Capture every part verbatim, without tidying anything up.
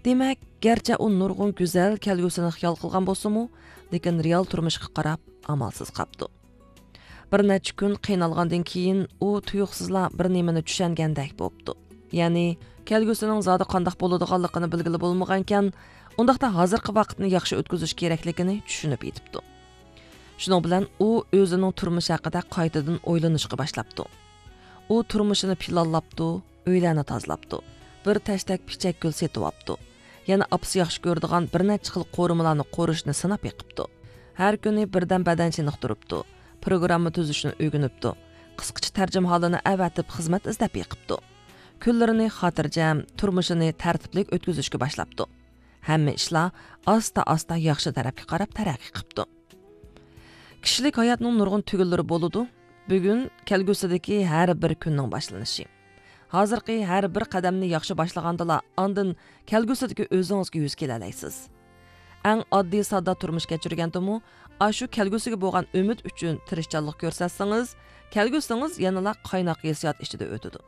دېمەك، گەرچە ئۇ نۇرغۇن گۈزەل كەلگۈسىنى خىيال قىلغان بولسىمۇ، لېكىن رېئال تۇرمۇشقا قاراپ ئامالسىز قاپتۇ. بىر نەچچە كۈن قىينالغاندىن كېيىن، ئۇ تۇيۇقسىزلا بىر نېمىنى چۈشەنگەندەك بوپتۇ. يەنى، كەلگۈسىنىڭ زادى قانداق بولىدىغانلىقىنى بىلگىلى بولمىغانىكەن، ئۇنداقتا ھازىرقى ۋاقىتنى ياخشى ئۆتكۈزۈش كېرەكلىكىنى چۈشىنىپ يېتىپتۇ. شۇنىڭ بىلەن ئۇ ئۆزىنىڭ تۇرمۇشى ھەققىدە قايتىدىن ئويلىنىشقا باشلاپتۇ. ئۇ تۇرمۇشىنى پىلانلاپتۇ، ئۆيلەرنى تازىلاپتۇ، بىر تەشتەك پىچەك گۈل سېتىۋاپتۇ، يەنە ئاپىسى ياخشى كۆرىدىغان بىر نەچچە خىل قورۇمىلارنى قورۇشنى سىناپ بېقىپتۇ. ھەر كۈنى بىردەم بەدەن چېنىقتۇرۇپتۇ، پروگرامما تۈزۈشنى ئۆگىنىپتۇ، قىسقىچە تەرجىمىھالىنى ئەۋەتىپ خىزمەت ئىزدەپ بېقىپتۇ. كۈنلىرىنى خاتىرجەم، تۇرمۇشىنى تەرتىپلىك ئۆتكۈزۈشكە باشلاپتۇ. ھەممە ئىشلار ئاستا-ئاستا ياخشى تەرەپكە قاراپ تەرەققىي قىپتۇ. كىشىلىك ھاياتنىڭ نۇرغۇن تۈگۈنلىرى بولىدۇ. بۈگۈن كەلگۈسىدىكى ھەر بىر كۈننىڭ باشلىنىشى. ھازىرقى ھەر بىر قەدەمنى ياخشى باشلىغاندىلا، ئاندىن كەلگۈسىدىكى ئۆزىڭىزگە يۈز كېلەلەيسىز. ئەڭ ئاددىي ساددا تۇرمۇش كەچۈرگەندىمۇ، ئاشۇ كەلگۈسىگە بولغان ئۈمىد ئۈچۈن تىرىشچانلىق كۆرسەتسىڭىز، كەلگۈسىڭىز يەنىلا قايناق ھېسسىيات ئىچىدە ئۆتىدۇ.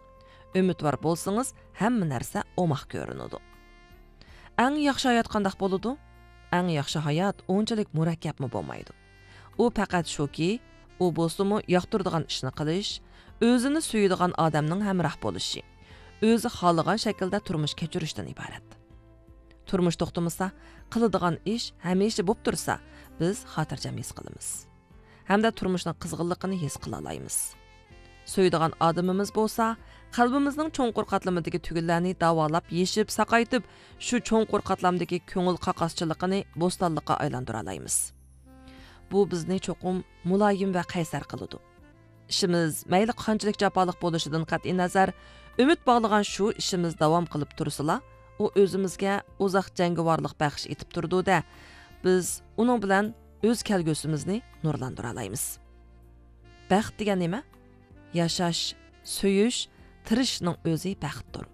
ئۈمىدۋار بولسىڭىز، ھەممە نەرسە ئوماق كۆرۈنىدۇ. ئەڭ ياخشى ھايات قانداق بولىدۇ؟ ئەڭ ياخشى ھايات ئۇنچىلىك مۇرەككەپمۇ بولمايدۇ. ئۇ پەقەت شۇكى، ئۇ بولسىمۇ ياقتۇرىدىغان ئىشنى قىلىش، ئۆزىنى سۆيىدىغان ئادەمنىڭ ھەمراھ بولۇشى، ئۆزى خالىغان شەكىلدە تۇرمۇش كەچۈرۈشتىن ئىبارەت. تۇرمۇش توختىمىسا، قىلىدىغان ئىش ھەمىشە بولۇپ تۇرسا، بىز خاتىرجەم ھېس قىلىمىز. ھەمدە تۇرمۇشنىڭ قىزغىنلىقىنى ھېس قىلالايمىز. سۆيىدىغان ئادىمىمىز بولسا، قەلبىمىزنىڭ چوڭقۇر قاتلىمىدىكى تۈگۈنلەرنى داۋالاپ، يېشىپ، ساقايتىپ، شۇ چوڭقۇر قاتلامدىكى كۆڭۈل قاقاسچىلىقىنى بوستانلىققا ئايلاندۇرالايمىز. بۇ بىزنى چوقۇم مۇلايىم ۋە قەيسەر قىلىدۇ. ئىشىمىز مەيلى قانچىلىك جاپالىق بولۇشىدىن قەتئىينەزەر، ئۈمىد باغلىغان شۇ ئىشىمىز داۋام قىلىپ تۇرسىلا، ئۇ ئۆزىمىزگە ئۇزاق جەڭگىۋارلىق بەخش ئېتىپ تۇرىدۇ-دە، بىز ئۇنىڭ بىلەن ئۆز كەلگۈسىمىزنى نۇرلاندۇرالايمىز. بەخت دېگەن نېمە؟ ياشاش، سۆيۈش، تىرىشىشنىڭ ئۆزى بەختتۇر.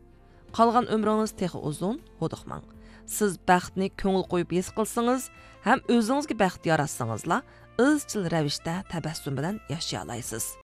قالغان ئۆمرىڭىز تېخى ئۇزۇن، ھودۇقماڭ. سىز بەختنى كۆڭۈل قويۇپ ھېس قىلسىڭىز ھەم ئۆزىڭىزگە بەخت ياراتسىڭىزلا، ئىزچىل رەۋىشتە تەبەسسۇم بىلەن ياشىيالايسىز.